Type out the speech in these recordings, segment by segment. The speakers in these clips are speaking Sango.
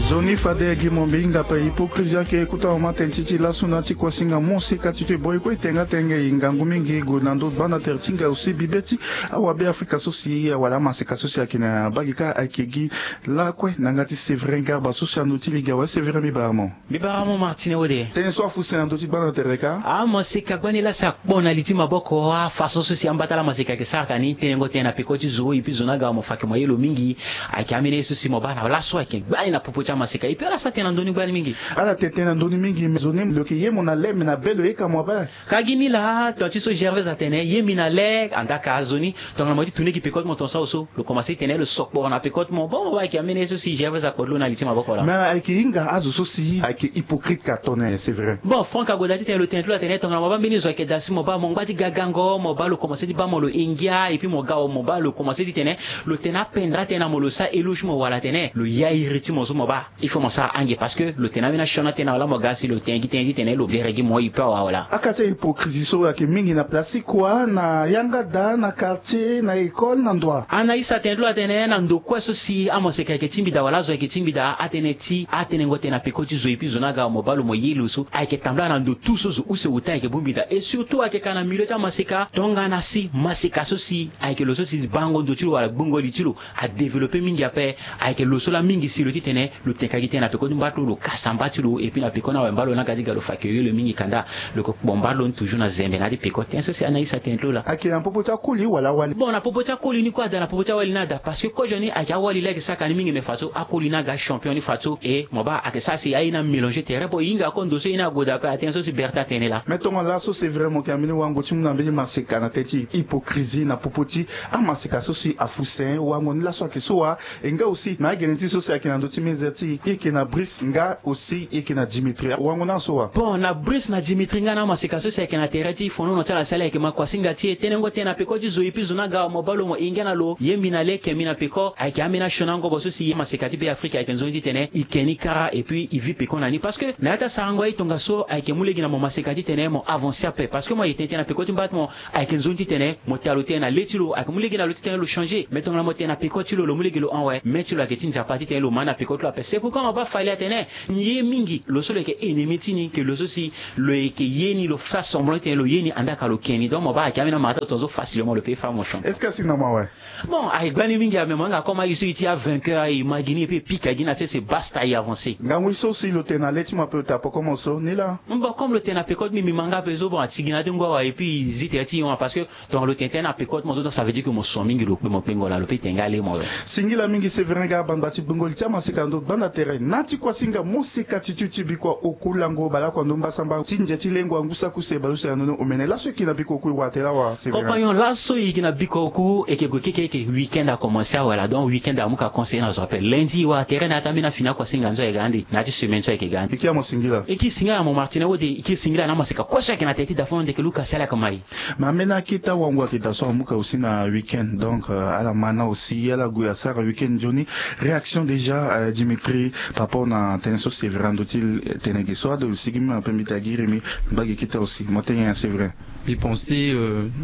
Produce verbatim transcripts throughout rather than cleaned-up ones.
Nzoni fade gi mombe hinga pe hypocrisie ayeke kota mama tënë ti ti laso na ti kuasinga moseka ti ti e boi kue e tenga tënë gi ngangu mingi gue na ndö gbanda tere ti nga aussi bibe ti awabe afrika so si awala amaseka so si ayeke na bagi kâ ayeke gi lakue na yanga ti Séverin Garba so si ando ti lege awe. Séverin, mbi bara mo. Mbi bara mo Martine Wode. Tënë so afu se na ndö ti gbanda tere kâ. Amaseka gbani laa si akpo na li ti maboko afaçon so si ambata laa amaseka ayeke sara ka ni tenengo tënë na peko ti zo et puis zo ni aga mo fa ayeke mo ye lo mingi. Ayeke ambeni ye so si mo baa na laso ayeke gbani na popo ti amaseka et puis ala sara tënë na ndö ni gbani mingi. Ala tene tënë na ndö ni mingi mais zo ni lo yeke ye mo na le mais na be lo yeke mo abaa. Ka gi ni laa ton ti so Gervais atene ye mbi na le andaka zo ni. Tongana mo ye ti tourner gi peko ti mo ton so awe so lo komanse ti tene lo sokporo na peko ti mo. Bon mo baa ayeke ambeni ye so si Gervais akpo ti lo na li ti maboko laa. Mais ayeke hinga azo so si ayeke hypocrite ka tone, c'est vrai. Bon Franck agoda ti tene lo tene ti lo atene tongana mo baa mbeni zo ayeke daa si mo baa mo ngba ti ga gango mo baa lo komanse ti baa mo lo e ngia et puis mo ga awe mo baa lo komanse ti tene lo tene apendra tënë na mo lo sara éloge ti mo wala atene lo ya iri ti mo so mo baa. Il faut mo sara ange parce que lo tene ambeni asioni atene na wala mo ga si lo tene gi tënë ti tene lo zere gi mo e pe awe wala. Aka ti ahypocrisie so ayeke mingi na place ti kua na yanga daa na quartier na école na ndo wa. Anaïs atene ti lo atene na ndo kue so si amaseka ayeke tingbi daa wala azo ayeke tingbi daa atënë ti atenengo tënë na peko ti zo et puis zo ni aga mo baa lo mo ye lo so ayeke tambula na ndo tout so zo use ota ayeke bongbi daa et surtout ayeke ka na milieu ti amaseka tongana si maseka so si ayeke lo so si bango ndo ti lo wala gbongo li ti lo adéveloppé mingi ape. Ayeke lo so laa mingi si lo ti tene lo tene ka gi tënë na peko ti mba ti lo lo kasa mba ti lo et puis na peko ni awe mba lo ni aga ti ga lo fa ayeke yo lo mingi kanda. Lo yeke kpo mba ti lo ni toujours na zembe na ya ti peko tënë so si Anaïs atene ti lo laa. Ayeke na popo ti akoli wala awali? Bon na popo ti akoli ni kue ada na popo ti awali ni ada parce que kozo ni ayeke awali laa ayeke sara ka ni mingi mais fadeso akoli ni aga champion ni fadeso et mo baa ayeke sara si aye ni amélanger tere bon e hinga ako ndo so ye ni agoda ape atënë so si Bertin atene laa. Mais tongana laso c'est vrai mo yeke na mbeni wango ti mu na mbeni maseka na tënë ti hypocrisie na popo ti amaseka so si afu se wango ni laso ayeke so wa? E nga aussi na agene ti so si ayeke na ndö ti mezere ti e, e yeke na Brice nga aussi e yeke na Dimitri, wango ni aso wa? Bon na Brice na Dimitri nga na amaseka so si ayeke na tere ti fonono ti ala si ala yeke ma kuasinga ti e tenengo tënë na peko ti zo et puis zo ni aga mo baa lo mo e ngia na lo ye mbi na le ke mbi na peko ayeke ambeni asioni angobo so si amaseka ti Be Afrika ayeke nzoni ti tene e ke ni kara et puis e vit peko na ni parce que na ya ti asarango aye tongaso ayeke mu lege na mo maseka ti tene mo avancer ape parce que mo ayeke tene tënë na peko ti mba ti mo. Ayeke nzoni ti tene mo tene lo tënë na le ti lo ayeke mu lege na lo ti tene lo changer mais tongana mo tene na peko ti lo lo mu lege lo hon awe me ti lo ayeke ti nzapa ti tene lo ma ni na peko ti lo ape c'est pourquoi mo baa fali atene ni ye mingi lo so lo yeke ennemi ti ni ke lo so si lo yeke ye ni lo fa semblant ti tene lo ye ni andaa ka lo ke ni donc mo baa ayeke ambeni amata lo tongaso facilement lo pe fa mo champion. Est-ce que asi na mo awe? Bon aye gbani mingi ame mo yanga comme aye so e ti avainqueur aye ma gi ni et puis e pika gi na sese basta e avancer. Ngangu so si lo tene na le ti mo ape lo ta poko mo so ni laa. Bon comme lo tene na peko ti mbi mbi ma nga ape so bon ati gi na ya ti ngu awa et puis e zi tere ti e hon parce que tongana lo tene tënë na peko ti mo so donc ça veut dire que mo son mingi lo kpe mo kpengo laa lo pe tene nga le mo lo. Singila mingi Séverin Garba ngbanga ti gbongo li ti amaseka na ndo gbanda tere na ti kuasinga moseka ti ti ti bikua oku lango baleoko na ndo mbasamba ti nze ti lengo angu saki use baleuse na ndo ni omene laso e yeke na bikua oku e wara tere awa Séverin? Compagnon laso e yeke na bikua oku e yeke gue keke eke week-end akomanse awe laa donc week-end amu ka conseiller na zo ape lundi e wara tere na ya ti ambeni afini akuasinga nzo ayeke ga ande na ya ti semaine so ayeke ga ande. E kiri na mo singila. E kiri singila na mo Martine Wode e kiri singila na amaseka kue so ayeke na tere ti dafon ndeke luka si ala yeke mai. Mais ambeni akete awango ayeke daa so amu ka aussi na week-end donc ala ma na aussi ala gue asara week-end nzoni. Réaction déjà Dimitri par rapport na tënë so Séverin ando ti tene ge so ado lo sigi mbi ma pe mbi ta giri mbi. Mba ge kete aussi mo tene nyen Séverin? Mbi pense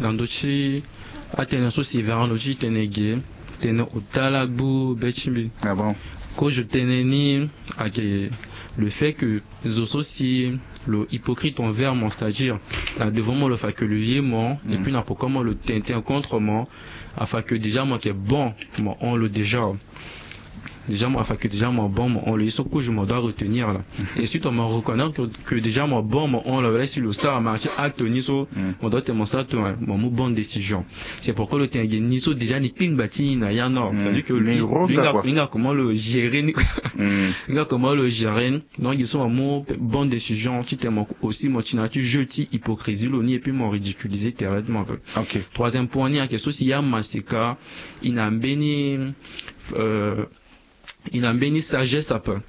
na ndo ti atene so Séverin ando ti tene ge tene ota lagbu be ti mbi. Ah bon? Kozo tënë ni ayeke le fait que zo so si lo hypocrite envers mo c'est-à-dire na devant mo lo fa que lo ye mo et puis na poko mo lo tene tënë contre mo afa que déjà mo yeke bon mo hon lo déjà. Déjà mo afa que déjà mo bon mo hon lo ye so kozo mo doit retenir laa. Et surtout mo reconnaître que déjà mo bon mo hon lo wala si lo sara ma ti acte ni so mo doit tene mo sara tongana mo mu bonne décision. C'est pourquoi lo tene ge ni so déjà ni kpingba ti ni na ya nord c'est-à-dire que lo hinga comment lo gérer ni. Hinga comment lo gérer ni. Donc ye so mo mu bonne décision ti tene mo aussi mo ti na ya ti jeu ti hypocrisie lo ni et puis mo ridiculiser tere ti mo ape. Troisième point ni ayeke so si ya maseka e na mbeni e na mbeni sagesse ape.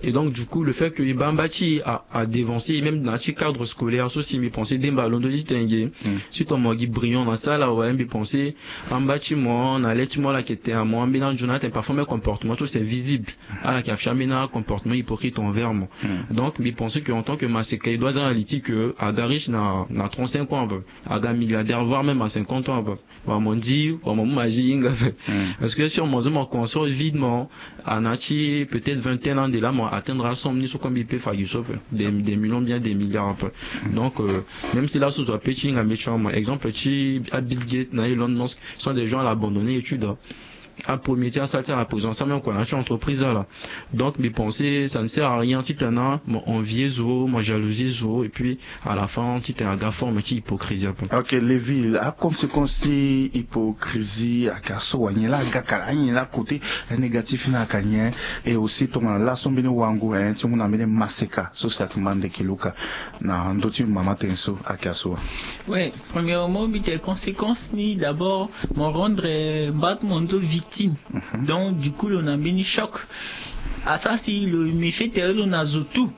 Et donc du coup le fait que e baa mba ti e a devancer e même na ya ti cadre scolaire so si mbi pense demba londo ti tene ge si tongana mo gi brillant na sala awe mbi pense amba ti mo na le ti mo ala yeke tene na mo ambeni anzoni atene parfois même comportement so c'est visible. Ala yeke afi ambeni acomportement hypocrite envers mo. Donc mbi pense que en tant que maseka e doit aza na li ti que aga riche na trente-cinq ans ape aga milliardaire voire même à cinquante ans ape. Wala mo ndi wala mo mu magie hinga ape. Parce que si mo zo mo conscient videment a na ti peut-être vingtaine ande laa mo atteindre asomme ni so comme il peut fa gi so pe des, des millions bien des milliards un peu. Donc euh, même si laso zo ape ti hinga mbeti mo exemple ti abill gate na elon musk sont des gens ala abandonner étude. Apremier ti asara ti ala na prison asara même kua na ya ti entreprise ala. Donc mbi pense ça ne sert à rien titene mo envier zo mo jalousie zo et puis à la fin titene aga forme ti hypocrisie ape. Ok, leville aconséquence ti hypocrisie aka so wa nyen laa agaka la anyen laa côté négatif ni aka nyen? Et aussi tongana laso mbeni wango hein ti mu na mbeni maseka so si aka mande ki luka na ndö ti mama tënë so aka so wa. Ouais, premièrement mbi tene conséquence ni d'abord mo rendre mbat mo nzo victime. Donc du coup lo na mbeni choc. Asara si lo méfie tere lo na zo tout.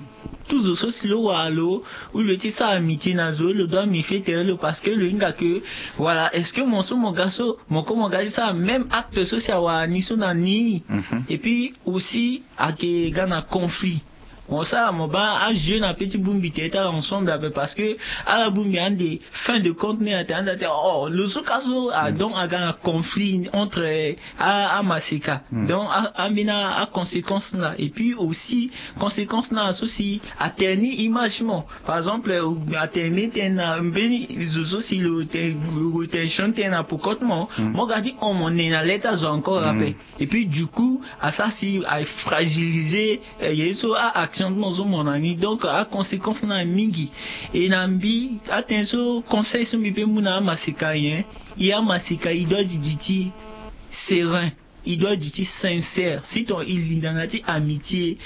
Tout zo so si lo wara lo ou lo ti sara amitié na zo lo doit méfie tere lo parce que lo hinga que voilà est-ce que mo so mo ga so mo ko mo ga ti sara même acte so si awara ni so na ni. Et puis aussi ake ga na conflit. Mo sara mo baa ajeu na pe ti bongbi tere ti ala ensemble ape parce que ala bongbi ande fin de compte ni ate ande ate oh lo so ka so ah, donc aga na conflit entre eh, a amaseka. Donc ambeni aconséquence na et puis aussi conséquence na so si atene ni image ti mo. Par exemple atene mbeni tënë na mbeni zo so si lo tene lo tene sioni tënë na pokote mo mo ga ti hon mo ne na le ti azo encore ape. Et puis du coup asara si afragiliser ye so a action ti mo so mo na ni donc aconséquence na mingi. Et na mbi atënë so conseil so mbi pe mu na amaseka nyen? I amaseka i doit du ti serein. I doit du ti sincère si ton i linda na ti amitié.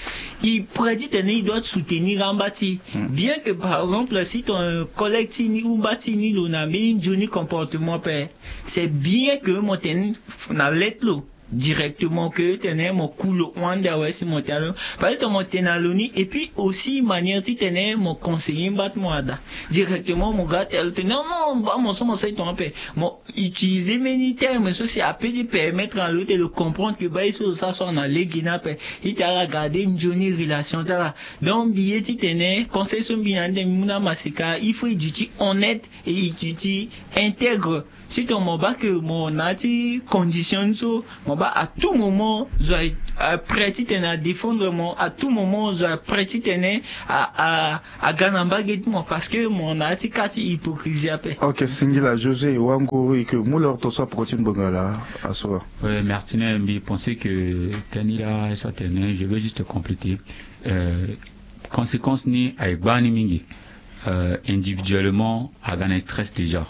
I prêt titene i doit soutenir amba ti bien que par exemple si ton collègue ti ni ou mba ti ni lo na mbeni nzoni comportement pe c'est bien que mo tene na lette lo directement que tene mo ku lo hon ande awe si mo tene na lo. Parce que ton mo tene na lo ni et puis aussi manière titene mo conseiller mba ti mo ada directement mo ga tene na lo tene non non mba mo so mo sara i ton ape mo utiliser mbeni terme so si ape ti permettre na lo ti lo comprendre que baa ye so lo sara so na lege ni ape. Ti tene ala garder nzoni relation ti ala. Donc mbi ye titene conseil so mbi na ande mbi mu na amaseka il faut i duti honnête et i duti intègre. Si ton mo baa que mo na ya ti condition ni so mo baa à tout moment zo a prêt titene adéfendre mo à tout moment zo a prêt titene a a aga na mbage ti mo parce que mo na ya ti ka ti hypocrisie ape. Ok singila josé wango eke mu lor to so apoko ti ngbonga laa aso wa. Martine mbi pense que tënë ni laa so atene je veux juste compléter. Conséquence ni aye gbaa ni mingi. Individuellement aga na stress déjà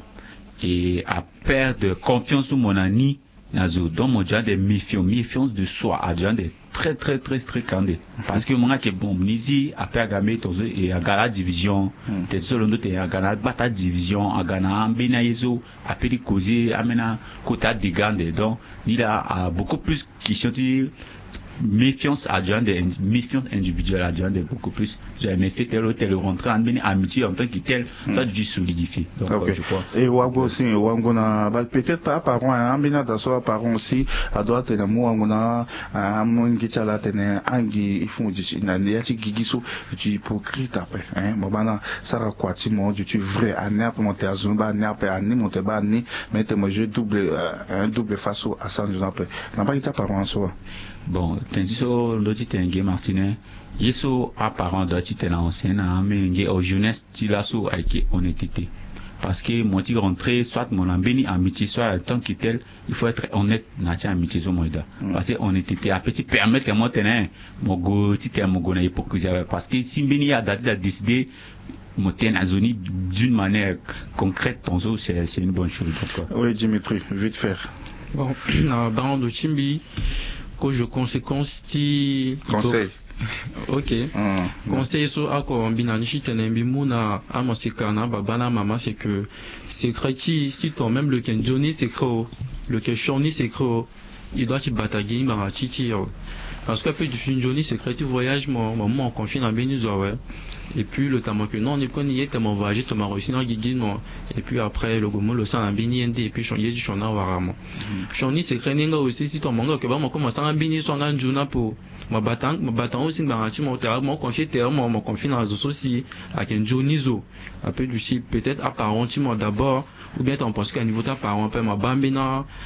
et aperdre confiance so mo na ni na zo donc mo déjà de méfiant méfiance de soi a déjà de très très très strict ande. Parce que mo nga ke bon ni si ape aga mbeni tongaso e aga na adivision. Tene so lo ndo tene aga na agbata adivision aga na ambeni aye so ape ti causer ambeni akota adega ande donc ni laa a beaucoup plus question ti méfiance a déjà ande méfiance individuelle a déjà ande beaucoup plus. Mais fait tel ou tel rentrer na mbeni amitié en tant que tel. Ça dû solidifier donc je crois. Et wango aussi wango na peut-être pas apparent hein ambeni ada so apparent aussi. Adoit atene mu wango na amu ngi ti ala atene angi il faut mo duti na ya ti gigi so duti hypocrite ape hein mo baa na sara kua ti mo duti vrai ani ape mo tene azo ni baa ani ape ani mo tene baa ani. Mais tene mo jeu double un double face so asara nzoni ape na mbage ti apparent so wa. Bon tene ti so ndö ti tene nge martine ye so aparent doit ti tene na ancien na amenge au jeunesse ti laso ayeke honnêteté. Parce que mo ti rentrer soit mo na mbeni amitié soit en tant que tel il faut être honnête na ya ti amitié so mo yeda. Parce que honnêteté ape ti permettre mo tene mo go ti tene mo go na hypocrisie ape parce que si mbeni ye ada ti da décider mo tene na zo ni d'une manière concrète tongaso c'est une bonne chose donc. Oui dimitri vite faire. Bon na bango ti mbi kozo conséquence ti conseil. Ok. Conseil so oko mbi na ni ti tene mbi mu na amaseka na ababa na amama c'est que secret ti si ton même lo yeke nzoni secret o lo yeke sioni secret o. I doit ti bata gi ngbanga ti ti o. Parce que ape duti nzoni secret ti voyage mo mo mu mo confie na mbeni zo awe. Et puis lo tene mo yeke non ni kue ni ye tene mo voyage tene mo réussi na gigi mo. Et puis après lo gue mu lo sara na mbeni ye nde et puis ye ti sioni awara mo. Sioni secret ni nga aussi si ton mo nga yeke baa mo kue mo sara mbeni ye so anga nzoni ape o. Mo bata mo bata aussi ngbanga ti mo tene mo confie tere mo mo confie na zo so si ayeke nzoni zo. Ape duti peut-être aparent ti mo d'abord. Ou bien tene mo pense que na niveau ti aparent ape mo baa mbeni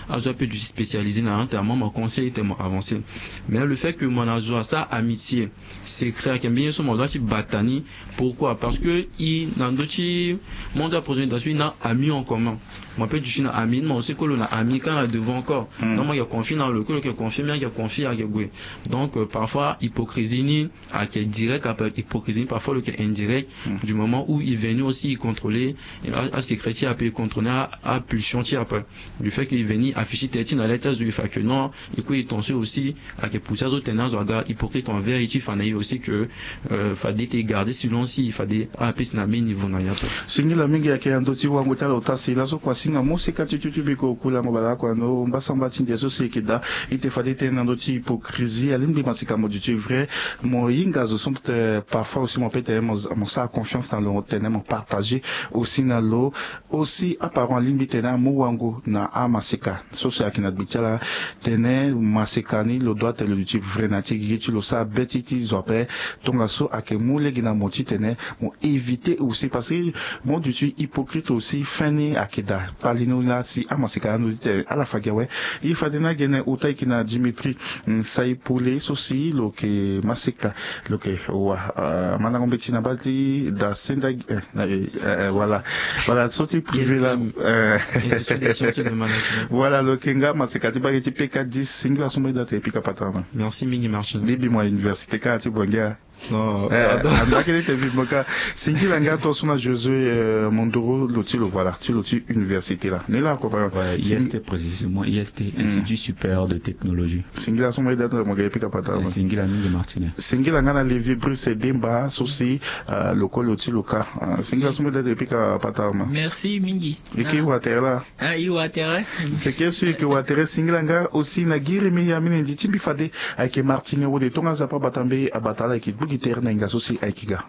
azo ape duti spécialisé na ya tene mo mo conseil tene mo avancer. Mais le fait Que mo na zo asa amitié secret ayeke mbeni ye so mo doit ti bata ni. Pourquoi? Parce que i na ndö ti monde ya présentation i na ami en commun. Mo peut duti na ami ni mo aussi kue lo na ami kâ na devant encore. Donc mo yeke confie na lo kue lo yeke confie mbi ayeke confie ayeke gue. Donc parfois hypocrisie ni ayeke direct après hypocrisie ni parfois lo yeke indirect. Du moment où il venu aussi il contrôler asecret ti ape il contrôler apulsion ti ape. Du fait que il veni affiche ti tene ti na lê ti azo il fa que non. Eko e ton so aussi ayeke pousser azo tene azo aga hypocrite envers ye ti fa na ye aussi que fade ete e garder silence si fade apesi na même niveau na ye ape. Singila mingi ayeke na ndö ti wango ti ala ota si laso kua singa mo sika ti tutu biko kulango bala kua ndo mbasamba ti ndia so si eke daa. Ete fade tene na ndö ti hypocrisie alingbi masika mo duti vrai. Mo hinga zo so peut parfois aussi mo peut tene mo sara confiance na lo tene mo partager aussi na lo. Aussi aparent alingbi tene amu wango na amaseka so si ayeke na gbe ti ala. Tene maseka ni lo doit tene lo duti vrai na ya ti gigi ti lo sara be ti ti zo ape. Tongaso ayeke mu lege na mo titene mo éviter aussi parce que mo duti hypocrite aussi fin ni ayeke daa. Kpali ni laa si amaseka ni ando titene ala fa gi awe. Ye fade ni agene ota eke na Dimitri Nsayi Pole so si lo yeke maseka. Lo yeke wa mandango mbeti na baa ti da senda gi. Voilà. Voilà so ti privé la. Voilà lo yeke nga maseka ti bage ti peka dix singila so mbeti da tene pika patara ma. Merci mingi martin. Libi mo université kâ ti bongia. Andakete te vivement kâ. Singila nga to so na Josué Mondoro lo ti lo voilà ti lo ti université la ni la ko. Voilà I S T précisément I S T, Institut Supérieur de Technologie. Singila so mbeti da tene mo gere pika patara ma. Singila mingi martin. Singila nga na Lévi Brice Demba so si lokolo ti lo kâ. Singila so mbeti da tene pika patara ma. Merci mingi. Eke watere la. Ah i watere. Seke so eke watere singila nga aussi na giri mi ya minendi ti mbi fade ayeke martin wode tonga nzapa bata mbe abata ala ayeke gbu gi tere na inga so si ayeke ga.